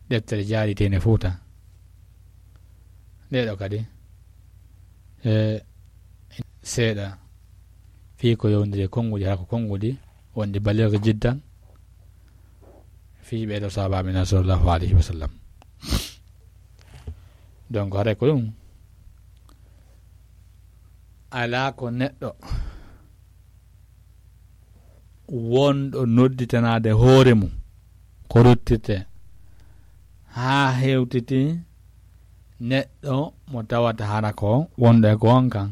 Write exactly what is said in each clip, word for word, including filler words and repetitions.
deftere jaaritende Fuuta. Nde ɗo kadi, e, seeɗa fii ko yowndiri e konnguɗi, hara ko konnguɗi wonɗi baliiga jiddan fii ɓee ɗoo sahaabaaɓe men sallallahu alayhi wa sallam. Donc, haray ko ɗum, alaa ko neɗɗo wonɗo nodditanaade hoore mum ko ruttirte haa hewtiti neɗɗo mo tawata hara ko wonɗo e goonga.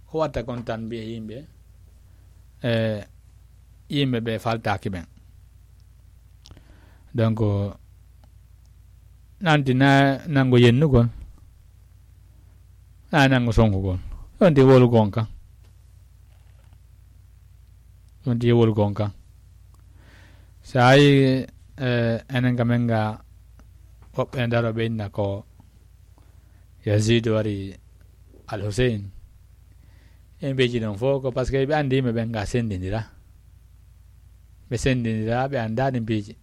Ko watta kon tan mbiye yimɓe, e, yimɓe ɓe faltaaki ɓen. Donc, nanti na nanngo yennugol, na nanngo sonkugol. Yonti wolu goonga. Yonti wolu goonga. Sa yi, e, enen ka men ga woɓɓe daro ɓe inna ko Yazid wari Al Hussein. E mbeji ɗon fof ko parce que ɓe anndi yimɓe ɓen ga senndindira. Ɓe senndindira, ɓe anndaa ɗi mbeji.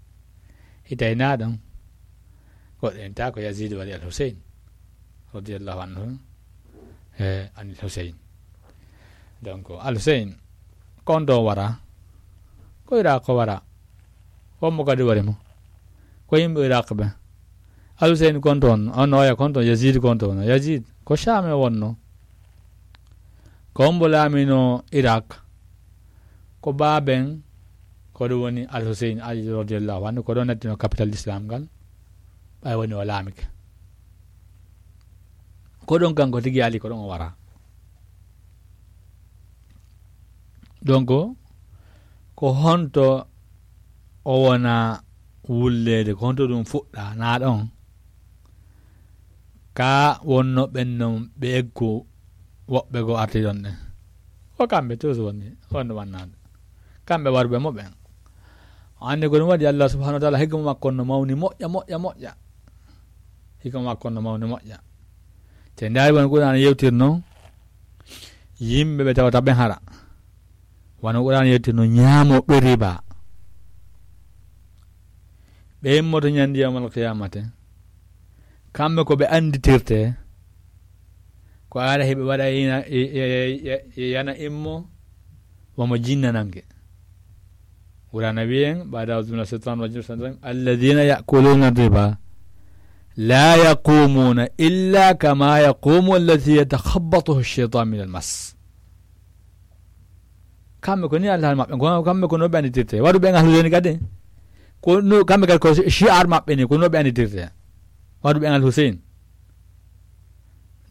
Hitay na ɗon. Goɗɗo en ta ko Yazid wari Al Hussein. Radiyallahu anhu. E, anil Hussein. Donc, Al Hussein, kon ɗo wara. Ko Iraq ko wara. Wonmo kadi wari mo. Ko yimɓe Iraq ɓe. Al Hussein kon toon, on oya kon toon, Yazid kon toon. Yazid, ko Sham e wonno. Ko hombo laamino Iraq. Ko baaben, ko ɗum woni Al Hussein Ali radiyallahu anhu, ko ɗon nattino capital l'islam ngal. Ɓay woni o laamike. Ko ɗon kanko tigi ali, ko ɗon o wara. Donc, ko honto o wona wulleede, ko honto ɗum fuɗɗa, na ɗon? Ka wonno ɓen non ɓe eggu woɓɓe goo arti ɗon ɗen. Ko kamɓe tous woni, wonno wannaade. Kamɓe waruɓe mo ɓen. O anndi ko ɗum waɗi Allah subhanahu wa ta'ala hikma makko no mawni moƴƴa, moƴƴa, moƴƴa. Hikma makko no mawni moƴƴa. Te ndaari won Qur'an yewtirno yimɓe ɓe tawata ɓen hara. Wano Qur'an yewtirno ñaamo ɓe riba. Ɓe immoto ñandi yawmal qiyamate. Kamɓe ko ɓe annditirte. Ko ara heɓe waɗa ina, e, e, e, e, yana immo, wamo jinna nange. Qur'ana wiyen, بعد أعوذ بالله من الشيطان الرجيم، الذين يأكلون الربا لا يقومون إلا كما يقوم الذي يتخبطه الشيطان من المس. Kamɓe ko ni Allah maɓɓe, kono kamɓe ko no ɓe annditirte. Waɗu ɓen ahlu zeni kadi. Ko no, kamɓe kadi ko shi'ar maɓɓe ni, ko no ɓe annditirte. Waɗu ɓen Al Hussein.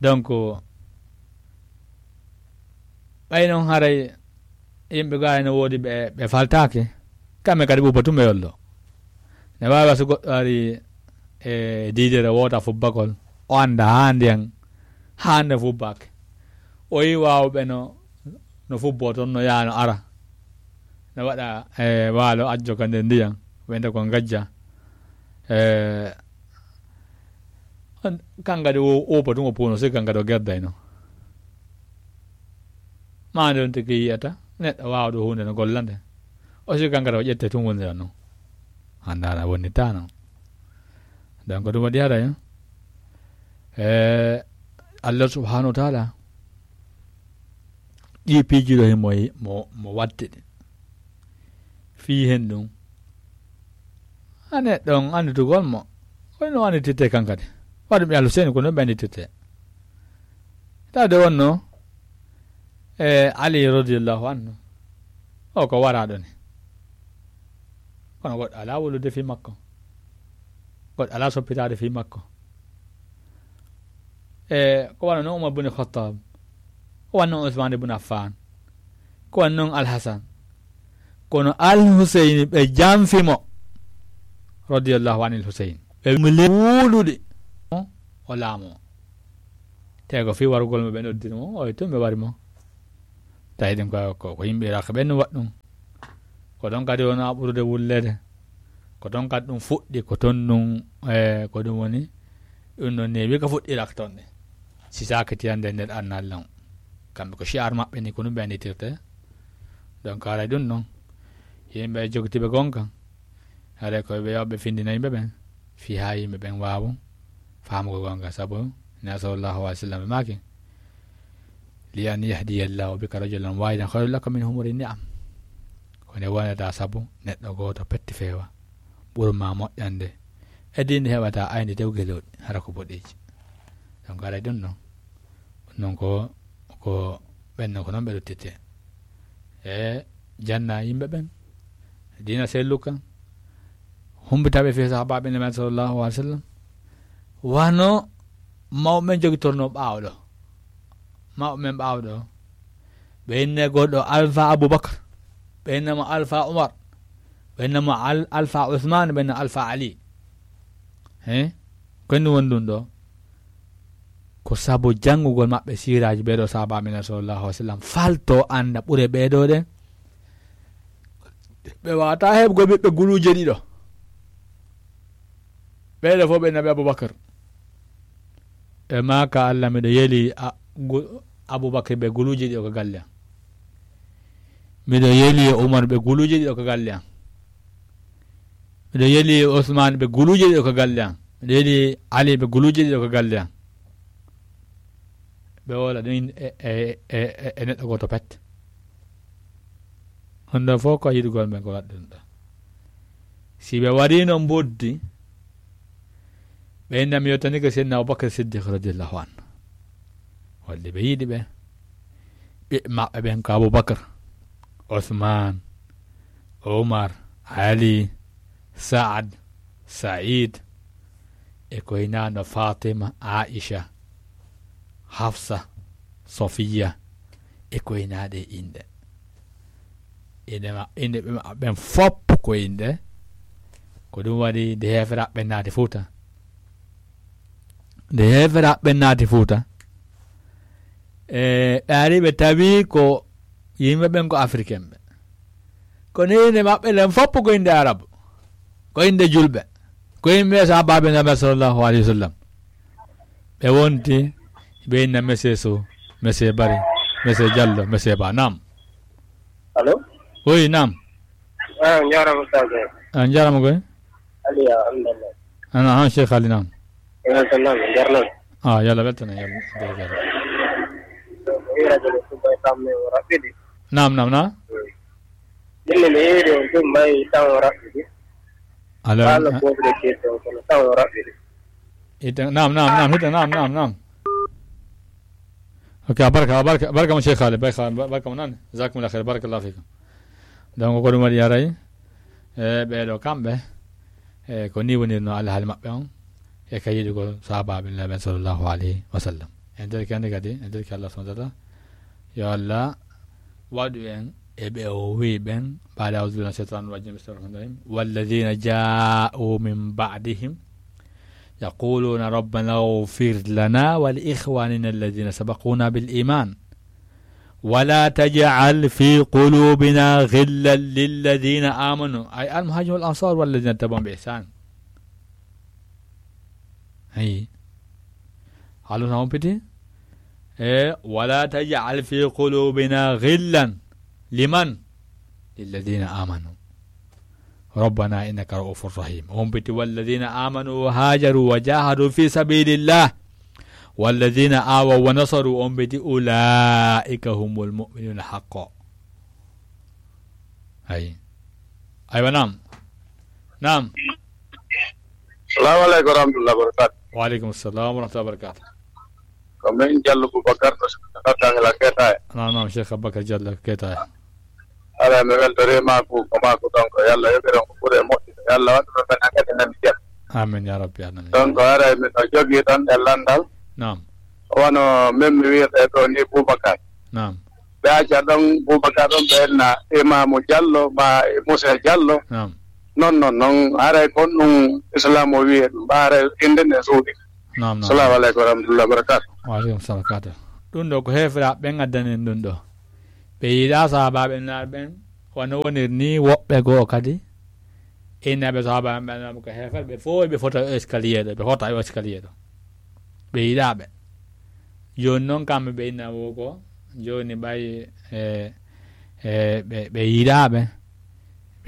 Donc, ɓay non haray yimɓe gaa ene woodi ɓe, ɓe faltaake. Kamɓe kadi ɓuuɓa tun ɓe yollo. Ne waawi so goɗɗo ari e diidere woota fubbagol, o annda haa ndiyan, haa nde fubbaake. O yi waawuɓe no, no fubboo ton, no yaa no ara. No waɗa e waalo ajjo ka nder ndiyan, wiyete ko ngajja. E, on, kan kadi o, o pa tun o puuno, si kan kadi o gerdayno. Maa nde on tigi yiyata, neɗɗo waawɗo huunde no golla nde. O si kan kadi o ƴette tun wonde non. Annda na woni tano. Donc ɗum waɗi haray, eh, Allah subhanahu wa ta'ala, ɗi piiji ɗo himo, mo, mo watte ɗi. Fii hen ɗum. Ane ɗon annditugol mo. Kono no annditirte kan kadi. Waɗu mi Alu Seyni ko non ɓe annditirte. Tawde wonno, e Ali radiyallahu anhu. O ko waraaɗo ni. Kono goɗɗo alaa wulude fii makko. Goɗɗo alaa soppitaade fii makko. E ko wano non Umar bun Khattab. Ko wano non Usman bun Affan. Ko wano non Al Hasan. Kono Al Huseyni ɓe janfi mo. Radiyallahu anil Huseyn. Ɓe mili wulude. O laamo. Te ko fii warugol mo ɓe noddiri mo. O tun ɓe wari mo. Tawi ɗum ko, ko, ko yimɓe Iraq ɓen no waɗi ɗum. Ko ɗon kadi wonaa ɓurude wulleede. Ko ɗon kadi ɗum fuɗɗi, ko ton ɗum, e, ko ɗum woni, ɗum ɗon neewi ko fuɗɗi Iraq ton ɗe. Si saakitiyande nder annaali lan. Kamɓe ko shi'ar maɓɓe ni, ko ɗum ɓe annditirte. Donc, haray ɗum ɗon. Yimɓe jogitiiɓe gonka. Haray ko ɓe yawɓe findina yimɓe ɓen. Fii haa yimɓe ɓen waawu faamugol goonga, sabu Nabi sallallahu alaihi wasallam maaki: "Li an yahdiya Allahu bika rajulan wahidan khayrun laka min humuri ni'am." Ko nde wonata sabu neɗɗo gooto petti feewa ɓuri ma moƴƴande e diinde heɓata ayni tew gelooɗi, hara ko boɗeeji. Donc, aray ɗum ɗon, ɗum ɗon ko, ko ɓen non ko non ɓe ruttittee. E janna yimɓe ɓen diina selluka, humbitaɓe fii sahabaaɓe Nabi sallallahu alaihi wasallam. Wano mawɓe men jogitorno ɓaawo ɗo. Mawɓe men ɓaawo ɗo, ɓe inne goɗɗo Alfa Abubakar, ɓe inne mo Alfa Umar, ɓe inne mo Al-, Alfa Usman, ɓe inne Alfa Ali. He? Ko honɗum woni ɗum ɗo? Ko sabu janngugol maɓɓe siiraaji ɓee ɗoo sahaabaaɓe men sallallahu alaihi wasallam, falto annda ɓure ɓee ɗoo ɗen. Ɓe waata heɓugol ɓiɓɓe guluuje ɗiɗo. Ɓee ɗoo fof ɓe inna ɓe Abubakar. E maaka: "Allah, miɗo yeli a-, gu-, Abubakar ɓe guluuje ɗiɗo ka galle am. Miɗo yeli Umar ɓe guluuje ɗiɗo ka galle am. Miɗo yeli Usman ɓe guluuje ɗiɗo ka galle am. Miɗo yeli Ali ɓe guluuje ɗiɗo ka galle am." Ɓe woola ɗum e, e, e, e, e neɗɗo gooto pet. Honɗum fof ko yiɗugol men ko waɗɗum ɗo. Si ɓe wariino mboddi, ɓe inna mi yottanike Seydina Abubakar Siddiq radiyallahu anhu. Holli ɓe yiɗi ɓe. Ɓiɓɓe maɓɓe ɓen ko Abubakar, Usman, Umar, Ali, Saad, Said, e ko hinaa no Fatima, Aisha, Hafsa, Sofiya, e ko hinaa ɗe inɗe. Inɗe ma-, inɗe ɓe ma-, ɓen fof ko inɗe. Ko ɗum waɗi nde heeferaaɓe ɓen naati Fuuta. Nde heeferaaɓe ɓen naati Fuuta, e ɓe ari ɓe tawi ko yimɓe ɓen ko Africain ɓe. Kono inɗe maɓɓe ɗen fof ko inɗe Arabu. Ko inɗe julɓe. Ko inɗe sahaabaaɓe Nabi sallallahu alaihi wasallam. Ɓe wonti, ɓe inna Monsieur Sow, Monsieur Bari, Monsieur Diallo, Monsieur Ba. Naam. Allo? Oui, naam. Ah, njaaraama, Oustaz. Ah, njaaraama koy. Aliya, alhamdulillah. Ana, han, Cheikh Ali, naam. Eh, weltanama, njarnama. Ah, yo Allah weltane, yo Allah weltane. Ko ira jole ko bay kam me o rabbidi. Naam, naam, naam. Ɗum ne mi yeeyde on ɗum mbay tan o raɓɓiɗi. Allo, ala eh, ko ɓe keeto kono tan o raɓɓiɗi. Ita, naam, naam, naam, hita, naam, naam, naam. Ok, a barka, a barka, barka mo Cheikh Ali, barka, barka mo nani. Jazakumullah khair, barakallahu fikum. Donc, ko ɗum waɗi aray, e ɓeeɗo kamɓe, e ko ni wonirno alhaali maɓɓe on, e ka yiɗugol sahabaaɓe Nulaaɓe ɓen sallallahu alayhi wa sallam. En nder kadi, kadi, en nder Allah subhanahu wa ta'ala, yo Allah waɗu en e ɓe o wi'i ɓen, بعد أعوذ بالله من الشيطان الرجيم، بسم الله الرحمن الرحيم، والذين جاءوا من بعدهم يقولون ربنا اغفر لنا ولإخواننا الذين سبقونا بالإيمان ولا تجعل في قلوبنا غلا للذين آمنوا، أي المهاجرين والأنصار والذين اتبعوهم بإحسان. Ayi. Haaluna on piti? E, ولا تجعل في قلوبنا غلا لمن؟ للذين آمنوا. ربنا إنك رؤوف رحيم. On piti: والذين آمنوا وهاجروا وجاهدوا في سبيل الله والذين آووا ونصروا، on piti: أولئك هم المؤمنون حقا. Ayi. Aywa, naam. Naam. Salamu aleykum wa rahmatullahi wa barakatuh. Wa aleykum salam wa rahmatullahi wa barakatuh. Ko min Jallo Boubacar to Tangla Ketaye. Naam, naam, Cheikh Aboubacar Jallo Ketaye. Ala, mi weltori ma ko, ko ma ko ɗon ko Yalla yoɓiron ko ɓuri e moƴƴude. Yalla waɗu ɗon ɓen hankadi nani jam. Amin ya rabbi alamin. Ɗon ko aray miɗo jogii ɗon e lanndal. Naam. Wano min mi wiyata ɗo ni Boubacar. Naam. Ɓe acca ɗon Boubacar ɗon ɓe enna Imaamu Jallo ma Moussa Jallo. Naam. Non, non, non, haray kon ɗum Islam o wiye ɗum, ɓa haray innde nde suuɗi. Naam, naam. Salamu aleykum wa rahmatullahi wa barakatuh. Wa aleykum salam wa barakatuh. Ɗum ɗo ko heeferaaɓe ɓen addani en ɗum ɗo. Ɓe yiɗaa sahaabaaɓe Nulaaɓe ɓen, wano woniri ni woɓɓe goo kadi. Innaɓe sahaabaaɓe ɓen ko heeferɓe, ɓe fof ɓe fota e escalier ɗo, ɓe fota e escalier ɗo. Ɓe yiɗaa ɓe. Jooni noon kamɓe ɓe inna wo ko, jooni ɓay, e, e, ɓe, ɓe yiɗaa ɓe.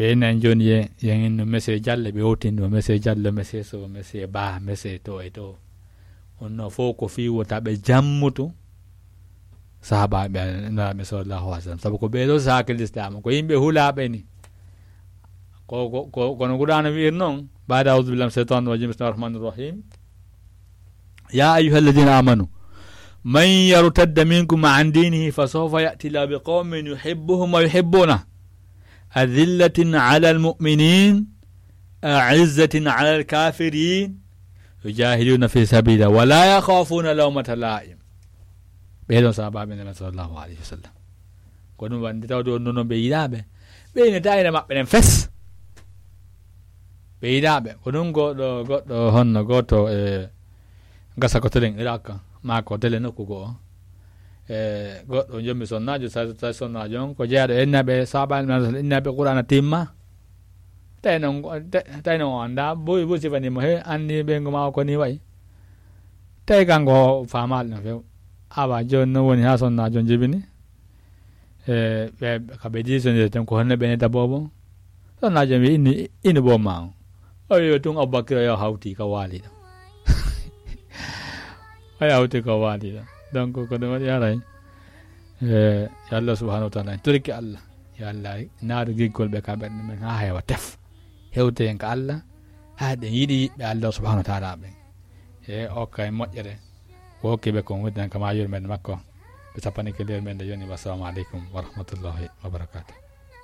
Ɓe nan jooni ye, yen no monsieur Diallo, ɓe howtini o monsieur Diallo, monsieur Sow, monsieur Ba, monsieur to e to. On no fof ko fii wota ɓe jammutu sahabaaɓe Nelaaɗo sallallahu alaihi wasallam. Sabu ko ɓee ɗoo saaki lislaam, ko yimɓe hulaaɓe ni. Ko, ko, ko, kono Qur'aana wi'ir noon, baada a'uuzu billahi mina shaytaani rajiim, bismillahi rahmaani rahiim. يا أيها الذين آمنوا من يرتد منكم عن دينه فسوف يأتي الله بقوم يحبهم ويحبونه أذلة على المؤمنين أعزة على الكافرين يجاهدون في سبيل الله ولا يخافون لومة لائم. Ɓee ɗoon sahabaaɓe Nelaaɗo sallallahu alaihi wasallam. Ko ɗum waɗi tawde on noon ɓe yiɗaaɓe. Ɓe ina tawi maɓɓe ɗen fes. Ɓe yiɗaaɓe. Ko ɗum goɗɗo, goɗɗo honno gooto e gasa ko telen Irak, maa ko tele nokku goo. E goɗɗo jommi sonnaajo, sa, sa sonnaajo on, ko jeyaaɗo e innaaɓe sahabaaɓe, innaaɓe Qur'aana timma. Tawi noon, tawi noon o anndaa, boy, boy sifanii mo, he, anndi ɓeyngu maa o ko nii wayi. Tawi kanko o faamaali no few. Awa, jooni noon woni haa sonnaajo on jibini. E, ɓe, ka ɓe diisondiri tan, ko honno ɓe neta boobo? Sonnaajo on wi'i, "Inu, inu boom maa on." O wi'i tun Abubakir o yo hawti ka waali ɗo. O yo hawti ka waali ɗo. Donc, ko ɗum waɗi haray. E, yo Allah subhanahu wa ta'ala, en torike Allah. Yo Allah naatu giggol ɓe ka ɓerɗe men haa heewa tef. Hewte en ka Allah, haa ɗen yiɗi yiɓɓe Allah subhanahu wa ta'ala ɓen. E, okka en moƴƴere. Ko hokki ɓe kon wondinan kama yurmeende makko. Ɓe sappani ko nder men nde yoni. Wassalamu aleykum wa rahmatullahi wa barakatuh.